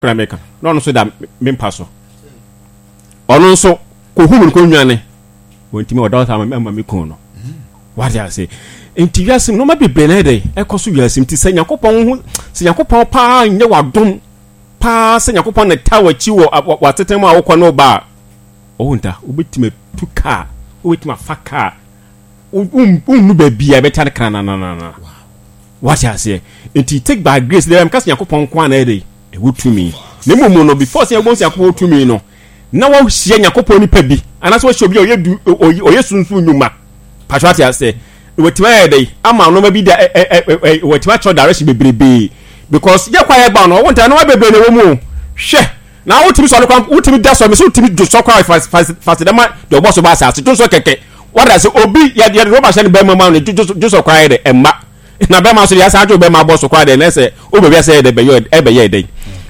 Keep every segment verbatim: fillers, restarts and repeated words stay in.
Kora meka na ɔno nso da me mpa so. Ɔno nso kɔhu me no kɔnwane. Wɔntumi ɔda ɔsa ama me kun no. Wate ase? Nti wiase mu nneɛma bebree na ɛdɛ ɛkɔ so wiase mu. Nti sɛ Nyankopɔn ho sɛ Nyankopɔn paa nyɛ wadom paa sɛ Nyankopɔn na ta w'akyi wɔ w'asetena mu a wokɔ ne wo ba a, ɔwo nta wobɛtumi atu kaa, wobɛtumi afa kaa, wonnu baabi a ɛbɛta no krananana. Wate aseɛ? Nti take by grace deɛ meka sɛ Nyankopɔn nko a na ɛdɛ ɛwɔ tumi. Na mmom no before sɛ yɛbɛhu sɛ Nyankopɔn wɔ tumi no, na wahyia Nyankopɔn nipa bi anaasɛ wahyia obi a ɔyɛ du ɔyɛ sunsun nnwuma. Patro ate aseɛ? Na watumi ayɛ dɛ ama nneɛma bi da ɛ ɛ ɛ watumi akyerɛ direction bebrebee because yɛ kɔ a yɛba no ɔwɔ ntaa nneɛma bebree na ɛwɔ mu o. Hwɛ na wotumi sɔre kwan wotumi da sɔre mɛ sɛ wotumi dwo sɔ kwan fa fa fa dɛm deɛ ɔbɔ so ba asase dwo sɔ kɛkɛ wada sɛ obi yɛ yɛ rɔba hyɛ ne bɛrima mu no dwo sɔ kwan yɛ dɛ ɛmma na bɛrima nso deɛ asan adwo bɛrima abɔ so koraa deɛ na sɛ wobɛ wiase yɛ dɛ bɛyɛ ɛbɛyɛ dɛ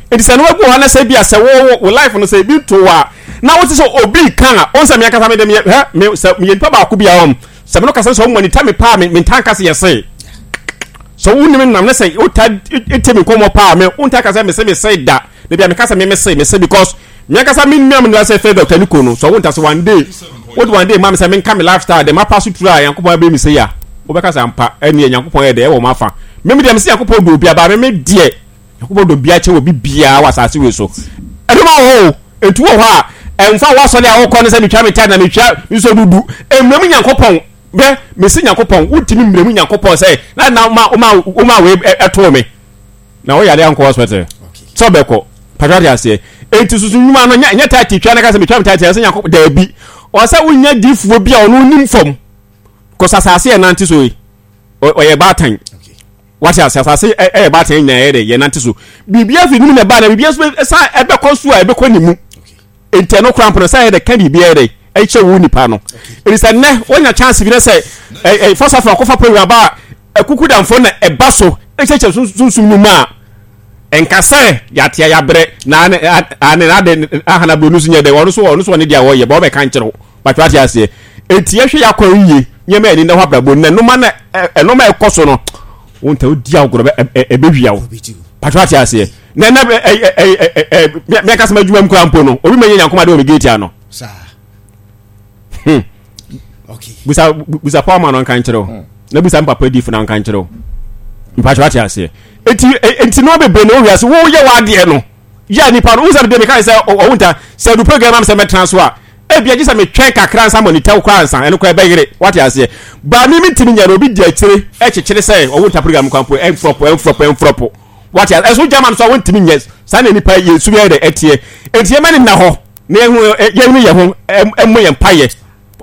nti sɛ no wagu hɔ na sɛ bi a sɛ wo wo life no sɛ ebi to a na wote sɛ obi ka a ɔn sɛ me ankasa me de meyɛ hɛ me sɛ meyɛ nipa baako bi a ɔm sɛ me no kasa sɛ ɔmo nita me paa me me ntaa nkasa yɛ se sɛ wo nim nam ne sɛ wota ete me nkɔmmɔ paa me wontaa kasa me se me se da na bia me kasa me me se me se because me ankasa me nua me nua sɛ fɛ Doctor Nico no sɛ wo nta sɛ one day wode one day ma me sɛ menka me lifestyle dɛ mapa so turu a Nyankopɔn abɛ mi sɛ ya wobɛka sɛ ampa ɛneɛ Nyankopɔn yɛ dɛ ɛwɔ m'afa me me deɛ me sɛ Nyankopɔn dɔ obi aba me me deɛ Nyankopɔn dɔ obi akyɛ wɔ bi biara wɔ asase wei so ɛdɔm wɔ hɔ o ɛntu wɔ hɔ a ɛmfa wɔ asɔre a wokɔ no sɛ metwa me tithe na metwa me nso dudu mmerɛ mu Nyankopɔn bɛ mesi Nyankopɔn wotumi mmerɛ mu Nyankopɔn sɛ na na ma woma woma wei ɛtoo me na woyare ankɔ hospital sɛ ɔbɛkɔ patwa te aseɛ enti susu nnwuma no nyɛ nyɛ tithe twa na ka sɛ metwa me tithe sɛ Nyankopɔn daabi ɔsɛ wonya diifoɔ bi a ɔno nim fam kɔsɛ asase yɛ nante so yi ɔyɛ baatan wate ase asase ɛyɛ baatan nyinaa yɛ dɛ yɛ nante so biribi afiri ne mu na ɛbaa na biribi nso ɛsan ɛbɛkɔ so a ɛbɛkɔ ne mu nti ɛno koraa mpo no sɛ yɛ dɛ ka biribi yɛ dɛ ɛkyɛ wo nipa no ɛni sɛ nnɛ wonya chance bi na sɛ ɛ ɛ fɔsafo akɔfa program ba a ɛkuku damfo na ɛba so ɛkyɛkyɛ sunsum no mu a ɛnka sɛ yɛatea yɛabrɛ na ane ane ade ahana bro no so nyɛ dɛ ɔno so ɔno so ɔne deɛ ɔyɛ bɔ ɔbɛka nkyerɛ wo batwa ate aseɛ enti yɛhwɛ yɛ akwan yie nneɛma yɛni na hɔ abrabɔ na ɛnoma na ɛnoma ɛkɔ so no wo nta wodi agorɔ bɛ ɛbɛwia wo batwa ate aseɛ na ɛna ɛ ɛ ɛ ɛ mɛ kasa ma adwuma mu kura mpo no obi ma nyɛ nyankoma de wɔ me gate ano hmm busa busa paul ma no nka nkyerɛ wo hmm. Na busa mpapa difo na nka nkyerɛ wo mpatwa ate aseɛ eti enti no bebree na owi ase wo yɛ w'adeɛ no yɛ nipa no wusa de meka sɛ ɔwo nta sɛ du program am sɛ mɛtena so a ebi agye sɛ metwɛn kakra nsa monitor wo koraa nsa ɛno koraa ɛbɛyere wate aseɛ ba mi mi ntumi nyɛ no obi di akyire ɛkyekyere sɛ ɔwo nta program kwan po ɛnfrɔpo ɛnfrɔpo ɛnfrɔpo wate aseɛ ɛso gyama no so a wontumi nyɛ saa na nipa yɛ su yɛ dɛ ɛteɛ enti yɛma ne nna hɔ na yɛhu yɛhunu yɛn ho ɛmmɔ yɛn mpayɛ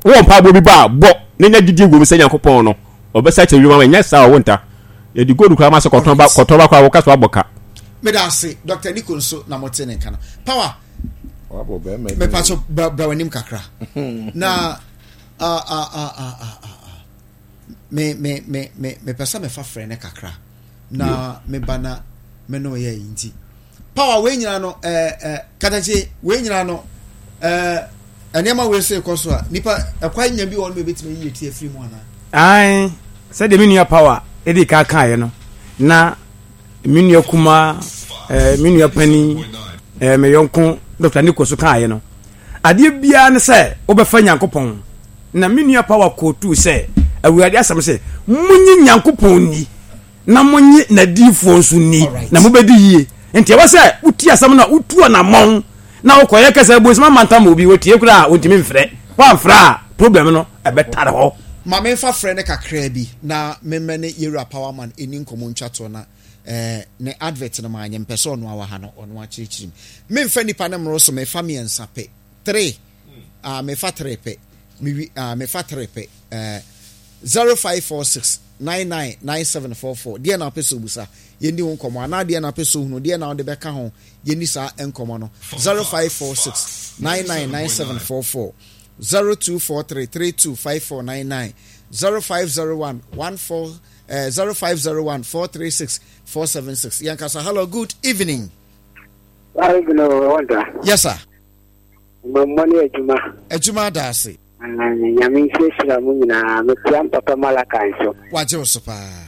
wɔ mpaebɔ bi bɔ a bɔ na nya gyidie wɔ mu sɛ Nyankopɔn no ɔbɛsa kyerɛ wiem ama nyɛ saa ɔwo nta yɛde gold koraa ma sɛ kɔtɔn ba kɔtɔn ba koraa wɔka so abɔ ka. Meda ase Doctor Nico nso na mote ne nka no power mepa so bra w'anim kakra na ah, ah, ah, ah, ah, ah. Me me me me mepɛ sɛ mefa frɛ ne kakra na meba na me ne ɔyɛ yi nti power wei nyinaa no ɛɛ ɛɛ katakye wei nyinaa no ɛɛ nneɛma wei sɛ kɔ so a nipa ɛkwan nya bi wɔ no ebetumi ayi eti afiri mu anaa. Ae sɛdeɛ me nua power edi ka kaeɛ no na me nua kumaa ɛɛ me nua panin ɛɛ me yɔnko Doctor Nico so kaeɛ no adeɛ biara ne sɛ wobɛfa Nyankopɔn na me nua power kootuu sɛ Awurade asɛm sɛ monye Nyankopɔn ni na monye n'adiyifoɔ nso nni, na mobɛdi yie. Nti ɛwɔ sɛ wotie asɛm no a, wotu anammɔn na wokɔyɛ kɛsɛ bonsam amantam obi, wɔtie koraa a, wɔntumi mfrɛ. Woamfrɛ a, problem no ɛbɛtare hɔ. Ma memfa frɛ no kakraa bi na memmɛ ne Yɛwura Powerman ɛni nkɔmmɔ ntwa toɔ na eh, ne advert no maanyɛ mpɛ sɛ ɔno awa ha no ɔno akyerɛkyerɛ mu. Memfa nnipa no mmoro so, mefa mmiɛnsa pɛ. Three. Ah, mefa three pɛ. Mewi, ah, mefa three pɛ. Eh, zero five four six nine nine nine seven four four. Deɛ na wopɛ sɛ obusa, yɛnni ho nkɔmmɔ. Anaa deɛ na wopɛ sɛ ohunu, deɛ na wode bɛka ho, yɛnni saa nkɔmmɔ no. Zero five four six nine nine nine seven four four. Zero two four three three two five four nine nine. Zero five zero one one four eh, zero five zero one four three six four seven six. Yɛn kasa. Hello, good evening. Yes, sir. Mmɔmmɔ ne adwuma. Adwuma ada ase. Nyame nhyirahyira mo nyinaa. Mekyia mpapa Malaka nso. Wagye wo so paa.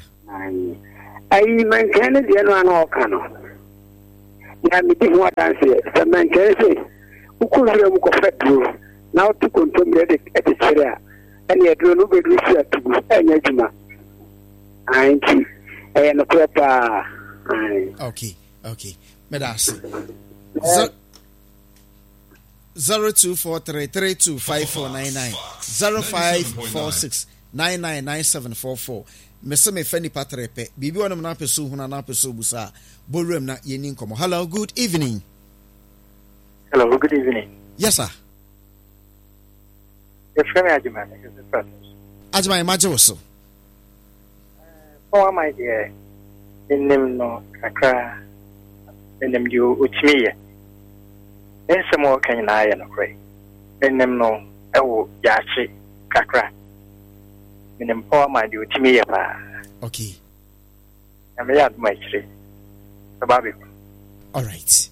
Ayi mankan no deɛ no a na ɔka no. Na medi ho adanseɛ sɛ mɛnkyɛn sɛ wokɔ nwura mu kɔfa duro na woto kontommire de kyekyere a, ɛne aduro no wobɛduru si atugu ɛnyɛ adwuma. Ae, nti ɛyɛ nokorɛ paa. Ae. Okay, okay. Meda ase. Zero two four three three two five four nine nine zero five four six nine nine nine seven four four. Mese mefa nipa tere pɛ. Biribi wɔ nom na apɛ so hunu na apɛ so busa a, bɔ wuram na yɛni nkɔmmɔ. Hello, good evening. Hello, good evening. Yes, sir. Yɛfrɛ me Agyeman, mekasa firi Atonsu. Agyeman, magye wo so. Pɔn aman deɛ, menim no kakra. Menim deɛ ɔtumi yɛ. Ne nsɛm a ɔka nyinaa yɛ nokorɛ. Menim no ɛwɔ yaakye kakra. Menim pɔn aman deɛ ɔtumi yɛ paa. Okay. Na meyɛ adom akyire. Bɛba abɛhu. All right.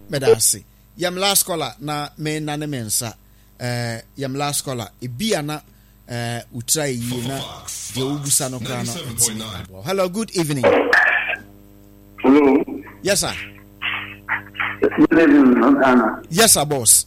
Meda ase. Yɛm last caller na me nane me nsa. Eh, yɛm last caller. Ebi ana eh utra yie na deɛ wobusa no koraa no ntumi aboa. Hello, good evening. Hello. Yes, sir. Good evening, Ghana. Yes, sir, boss.